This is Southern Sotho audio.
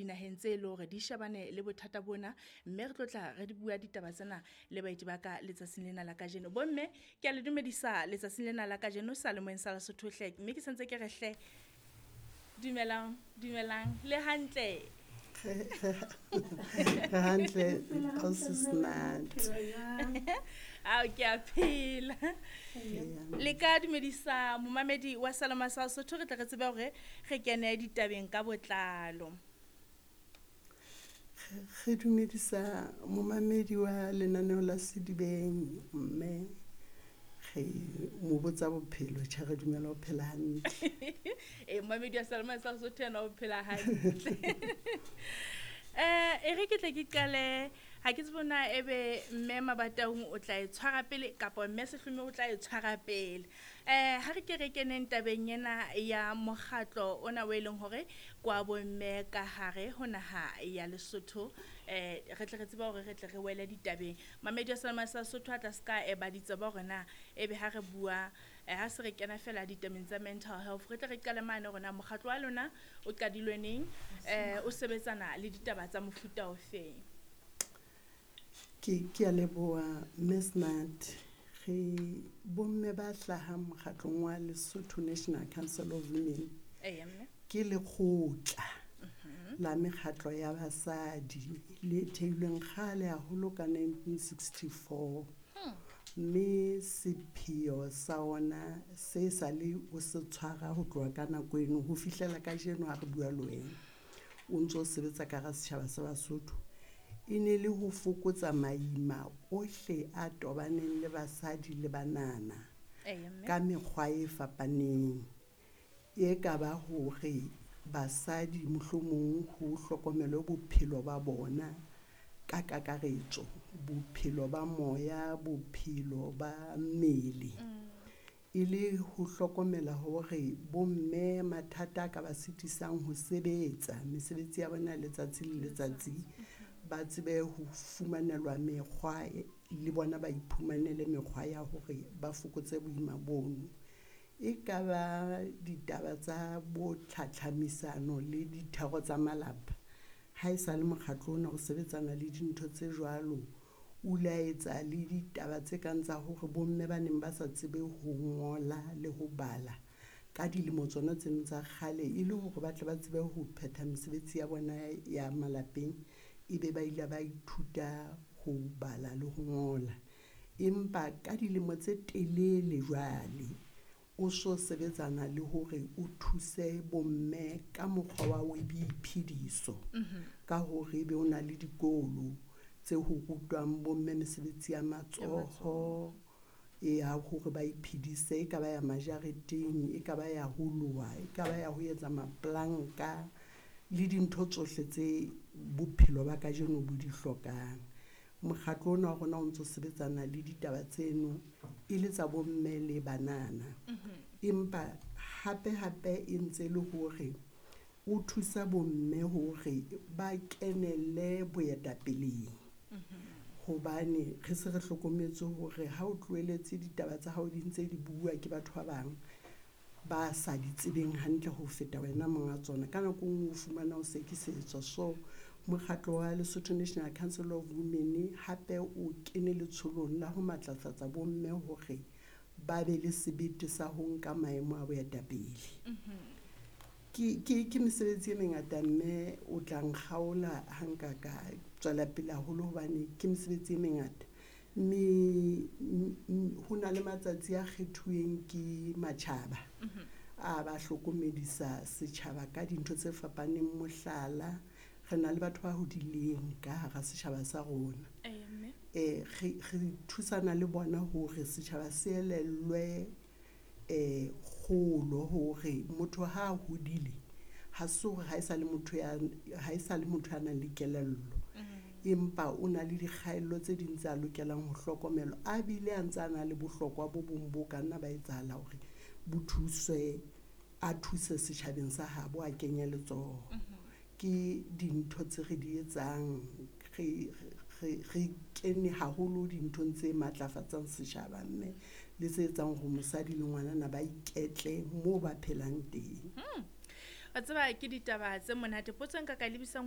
dinaheng tse leng hore di shebane le bothata bona, mme re tlo tla re di bua ditaba tsena le baeti ba ka letsatsing lena la kajeno. Bomme, ke a le dumedisa letsatsing lena la kajeno seyalemoyeng sa Lesotho hle, mme ke sentse ke re hle dumelang, dumelang le hantle. Re hantle, ausi Snat. Ao, ke a phela. Le ka dumedisa momamedi wa Saloma sa Sotho, re tle re tsebe hore re kene ditabeng ka botlalo. Re dumedisa momamedi wa lenaneo la Sedibeng, mme re mo botsa bophelo. Tjhe, re dumela ho phela hantle. E, momamedi wa Saloma sa Sotho yena o phela hantle. E re ke tle ke qale, ha ke tsebe na ebe mme Mabataung o tla e tshwara pele kapa mme Sehlome o tla e tshwara pele. Ha re ke re keneng tabeng ena ya mokgatlo ona o e leng hore kwa bomme ka hare ho naha ya Lesotho, re tle re tsebe hore re tle re wele ditabeng. Mamedi wa Saloma sa Sotho a tla ska e ba ditseba hore na ebe ha re bua, ha se re kena fela ditabeng tsa mental health, re tle re qale mane hore na mokgatlo wa lona o qadilwe neng, o sebetsana le ditaba tsa mofuta ofeng. Ke a leboha, mme Snat. Re bomme ba hlahang mokgatlong wa Lesotho National Council of Women. Eya, mme. Ke lekgotla la mekgatlo ya basadi le theilweng kgale haholo ka 1964. Mme sepheo sa ona se sa le o se tshwara ho tloha ka nako eno ho fihlela kajeno ha re bua le wena, o ntso sebetsa ka hara setjhaba sa Basotho, e ne le ho fokotsa maima ohle a tobaneng le basadi le banana Eya, mme. ka mekgwa e fapaneng. E ka ba hore basadi mohlomong ho hlokomelwe bophelo ba bona ka kakaretso, bophelo ba moya, bophelo ba mmele, e le ho hlokomela hore bomme mathata a ka ba sitisang ho sebetsa mesebetsi ya bona letsatsi le letsatsi, ba tsebe ho fumanelwa mekgwa, le bona ba iphumanele mekgwa ya hore ba fokotse boima bono. E ka ba ditaba tsa bo tlhatlhamisano le dithero tsa malapa. Ha e sa le mokgatlo ona o sebetsana le dintho tse jwalo, o ile a etsa le ditaba tse kang tsa hore bomme ba neng ba sa tsebe ho ngola le ho bala ka dilemo tsona tseno tsa kgale, e le hore ba tle ba tsebe ho phetha mesebetsi ya bona ya malapeng, ebe ba ile ba ithuta ho bala le ho ngola. Empa ka dilemo tse telele jwale o so sebetsana le hore o thuse bomme ka mokgwa wa boiphediso, ka hore ebe o na le dikolo tse ho rutwang bomme mesebetsi ya matsoho, e ya hore ba iphedise, e ka ba ya majareteng, e ka ba ya ho loha, e ka ba ya ho etsa maplanka le dintho tsohle tse bophelo ba kajeno bo di hlokang. Mokgatlo ona wa rona o ntso sebetsana le ditaba tseno e le tsa bomme le banana. Empa hape hape e ntse le hore o thusa bomme hore ba kenelle boetapeleng. Hobane re se re hlokometse hore ha o tlohelletse ditaba tsa hao di ntse di bua ke batho ba bang ba sa di tsebeng hantle ho feta wena monga tsona, ka nako e nngwe o fumana o sekisetswa. So mokgatlo wa Lesotho National Council of Women hape o kene letsholong la ho matlafatsa bomme hore ba be le sebete sa ho nka maemo a boetapele. Ke mesebetsi e mengata, mme o tla nkgaola ha nka ka tswela pele haholo hobane ke mesebetsi e mengata. Mme ho na le matsatsi a kgethuweng ke matjhaba a ba hlokomedisa setjhaba ka dintho tse fapaneng. Mohlala, re na le batho ba hodileng ka hara setjhaba sa rona. Eya, mme. Re thusana le bona hore setjhaba se elellwe kgolo hore motho ha a hodile ha se hore ha e sa le motho ya, ha e sa le motho ya nang le kelello, empa o na le dikgaello tse ding tse a lokelang ho hlokomelwa, a bile a ntse a na le bohlokwa bo bong bo ka nna ba etsahala hore bo thuswe, a thuse setjhabeng sa habo, a kenye letsoho. Ke dintho tse re di etsang, re kene haholo dinthong tse matlafatsang setjhaba, mme le tse etsang hore mosadi le ngwanana ba iketle moo ba phelang teng. Wa tseba ke ditaba tse monate. Potso e nka ka lebisang